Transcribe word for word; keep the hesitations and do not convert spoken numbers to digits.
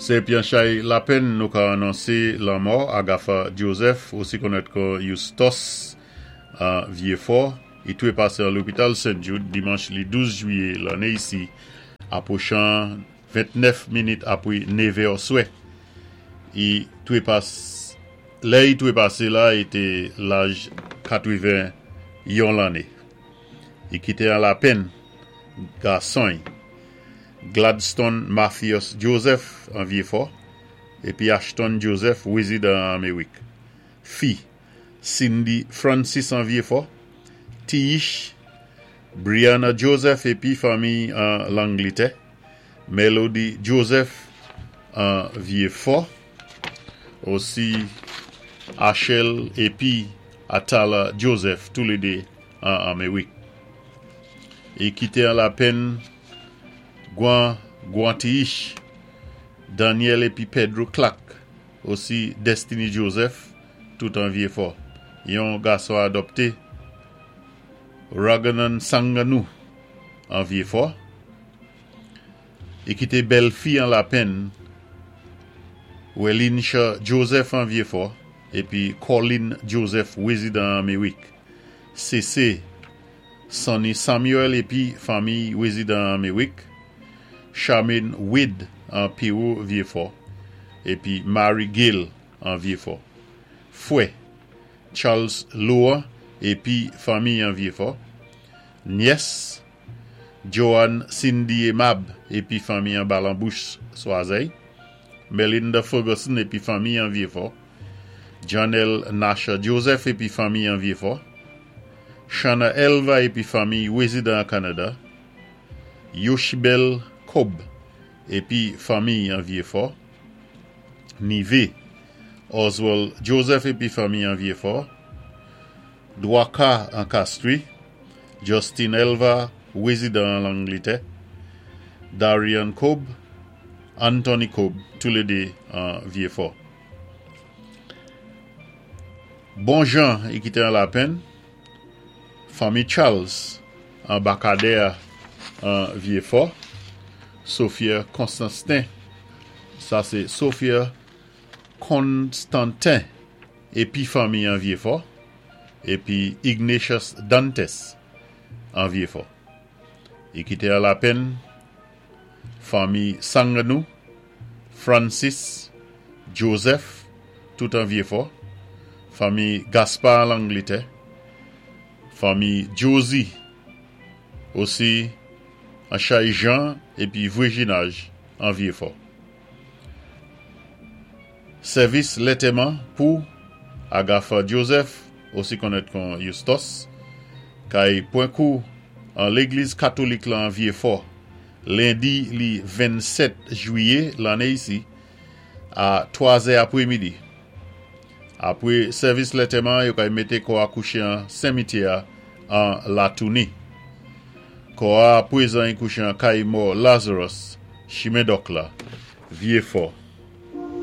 Sé pi an chay lapenn nou ka anonsé lanmò Agatha Joseph, osi konnèt kon Justos an Vyéfò. I twé pasé an lopital Saint Jude dimanch li douz jwiyé lanné isi, apwochan ventnèf minit apwé nevè swè. I twé pas, lè i twé pasé la, i té laj katwenven-yon lanné. I kité an lapenn gason Gladstone Mathias Joseph an Vyéfò épi Ashton Joseph, wézidan an Améwik. Fi Cindy Francis an Vyéfò, Tiish Brianna Joseph épi fanmi an Langlitè, Melody Joseph an Vyéfò, osi Achel épi Atala Joseph, toulédé an Améwik. I kité an lapenn Gwan Guantiish, Daniel épi Pedro Clark, osi Destiny Joseph, tout an Vyéfò. Yon gason adopté, Raganan Sanganou, an Vyéfò. I kité bèl fi an lapenn, Welinsha Joseph an Vyéfò, épi Colin Joseph, wézidan Améwik. C C Sonny Samuel épi fanmi, wézidan Améwik. Charmaine Wade an Péro Vyéfò, épi Mary Gill an Vyéfò. Fwè Charles Loa épi fanmi an Vyéfò. Nyès Joanne Cindy Emab épi fanmi an Balambouche Soazey. Melinda Ferguson épi fanmi an Vyéfò. Janelle Nasha Joseph épi fanmi an Vyéfò. Shana Elva épi fanmi, wézidan Kanada. Yoshibel Kob épi fanmi an Vyéfò. Nivé Oswald Joseph épi fanmi an Vyéfò. Dwaka an Castries. Justin Elva, wézidan an Langlitè. Darian Cobb, Anthony Cobb, toulédé an Vyéfò. Bon jan i kité an lapenn, fanmi Charles an Bakadè an Vyéfò, Sophia Constantin, sa sé Sophia Constantin épi fanmi an Vyéfò, épi Ignatius Dantes an Vyéfò. I kité an lapenn fanmi Sanganou, Francis, Joseph, tout an Vyéfò, fanmi Gaspard Langlitè, fanmi Josie, osi an Chay Jean épi Vwéjinaj an Vyéfò. Sèvis lantèman pou Agatha Joseph, osi konnèt kon Justos, kay pwan kou an légliz katolik lan Vyéfò, lendi li vennsèt jwiyé lanné isi, a twa zè apwémidi. Apwé sèvis lantèman, yo kay mété kò a kouché an simityè an Latouni. Kò a pwézan i kouché an kay mò Lazarus, Chimendok la, Vyéfò.